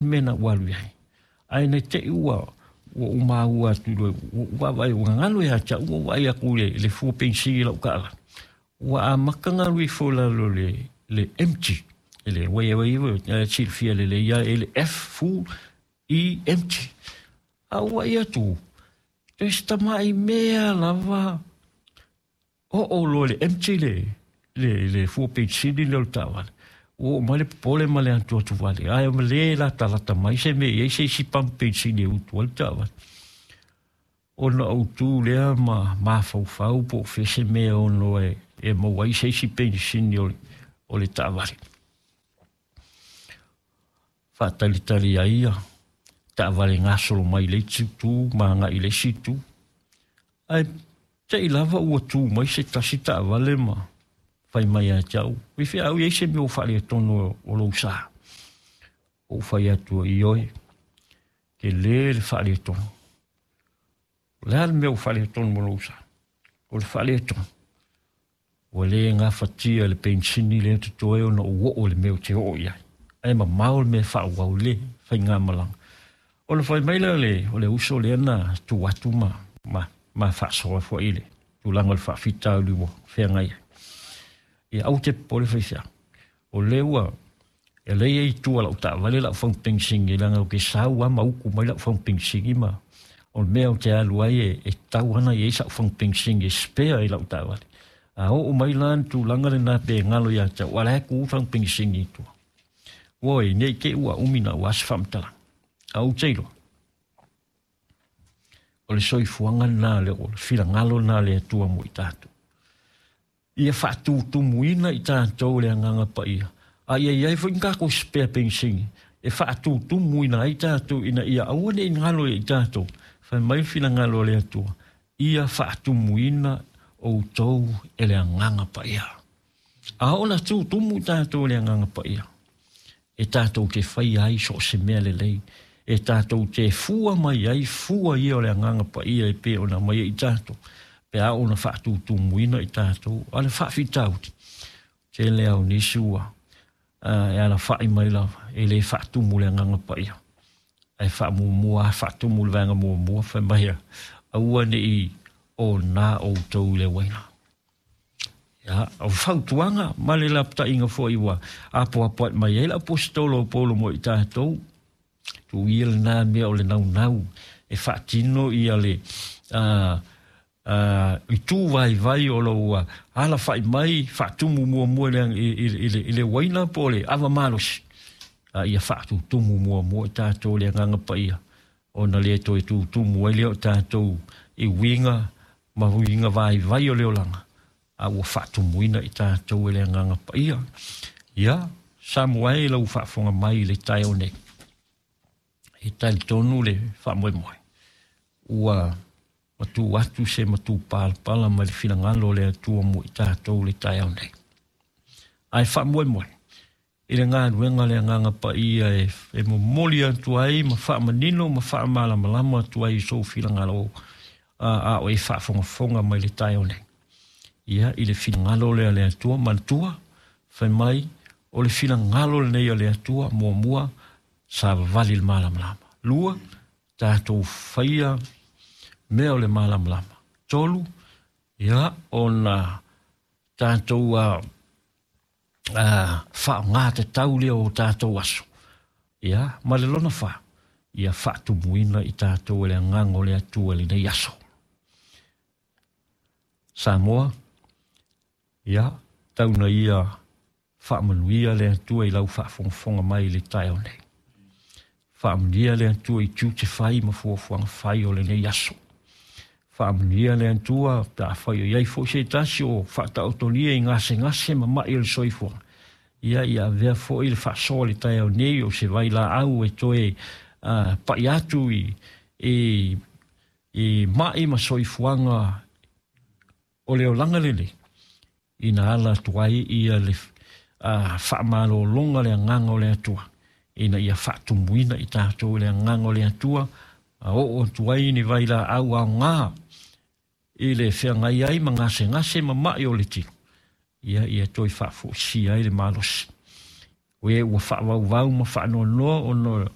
Mea na ou alu i ai. Ae ne i te i ua ou maua atu loa, ua ou vaavaai ua gagalo ia te au, ua ou vaai atu i le fua penisini i lau taavale, ua amata ona alu ifo i lalo i le empty, i le ua silafia lelei lava e le F full, E empty. A ou vaai atu, toe si tamai mea lava oo loa i le empty le fua penisini lea o le taavale. Ua oo mai le popole ma le atuatu vale, ae le latalata mai se mea e i ai se isi pamu penisini e utu ai le taavale. Ona ou tu lea ma mafaufau po o fea se mea ono e maua ai se isi penisini o le taavale. Faatalitali ai ia taavale gasolo mai le isi itu ma agai i le isi itu. Ae te i lava ua tu mai se tasi taavale ma fai mai ia te au, i fea au i ai se mea ua faaletonu o lou sa. Ou fai atu, ioe, tele le faaletonu. O le a le mea ua faaletonu o lou sa? O le faaletonu, ua le gafatia le penisini lea totoe ona ou oo i le mea ou te oo i ai. Ae mamao le mea e faaauau i le faigamalaga. Ona fai mai lea o le uso lea na tu atu ma faasoa foi i le tulaga o le faafitauli ua feagai ai. Ia aua te popole faifeau. O lea ua e lea i tua lau taavale lau fagu penisini leaga ou te sau lava ma utu mai lau fagu penisini ma o le mea ou te alu ai e tatau lava ona i ai sau fagu penisini e spare i lau taavale. A oo mai la le tulaga lena pe galo ia te au, a o la e tu fagu penisini i tua. Oi, ne i te i ua umi na ua se faamatalaga. A ou te iloa, o le soifuaga lena, o le finagalo lena o le Atua mo i tatou. Ia faatutumuina i tatou le Agaga Paia, a ia i ai foi ni tatou spare penisini e faatutumuina ai tatou ina ia aua ne i galo ia i tatou. Fai mai le finagalo o le Atua, ia faatumuina outou e le Agaga Paia. A oo ina tutumu i tatou e le Agaga Paia, e tatou te faia ai so o se mea lelei, e tatou te fua mai ai fua ia o le Agaga Paia e pei ona aumai ai i tatou, pe a oo ina faatutumuina i tatou. A o le faafitauli, tele lava o nisi ua e alafai mai lava, e le faatumu le Agaga Paia, ae faamuamua lava faatumu le vaega muamua, fai mai, aua ne i ona outou i le uaina. Ia, o fautuaga ma le lapataiga foi ua apoapoai mai ai le aposetolo o Paulo mo i tatou, tuu ia lena mea o le naunau e faatino ia le itu vaivai o lou alafai mai, faatumu muamua i le uaina po o le ava malosi, a ia faatutumu muamua i tatou le Agaga Paia, ona le toe tutumu ai lea o tatou i uiga ma uiga vaivai o le olaga, a ua faatumuina i tatou e le Agaga Paia. Ia, Samoa e lau faafofoga mai i le taeao nei, e talitonu le faamoemoe ua matu atu se matupalapala mai le finagalo o le Atua mo i tatou le taeao nei. Ae faamoemoe i le galuega le Agaga Paia e momoli atu ai ma faamanino ma faamalamalama atu ai i sou finagalo a o e faafogafoga mai le taeao nei. Ia, i le finagalo lea le Atua, manatua, fai mai, o le finagalo lenei o le Atua, muamua, savavali le malamalama. Lua, tatou faia mea o le malamalama. Tolu, ia, ona tatou faaaoga tatau lea o tatou aso. Ia, ma le lona fa, ia faatumuina i tatou e le Agaga o le Atua i lenei aso. Samoa, ia, tau na ia faamanuia le Atua i lau faafogafoga mai i le taeao nei. Faamanuia le Atua i tiute fai ma fuafuaga fai o lenei aso. Faamanuia le Atua pe afai o i ai foi se tasi o faataotolia i gasegase ma mai o le soifuaga. Ia, ia avea foi le faasoa i le taeao nei o se vailaau e toe pai atu i mai ma soifuaga o le olaga lenei, ina ala atu ai ia le faamalologa le Agaga o le Atua, ina ia faatumuina i tatou i le Agaga o le Atua, a oo atu ai ni vailaau aoga i le feagai ai ma gasegase ma mai o le tino, ia ia toe faafoisia ai le malosi. O e ua faavauvau ma faanoanoa ona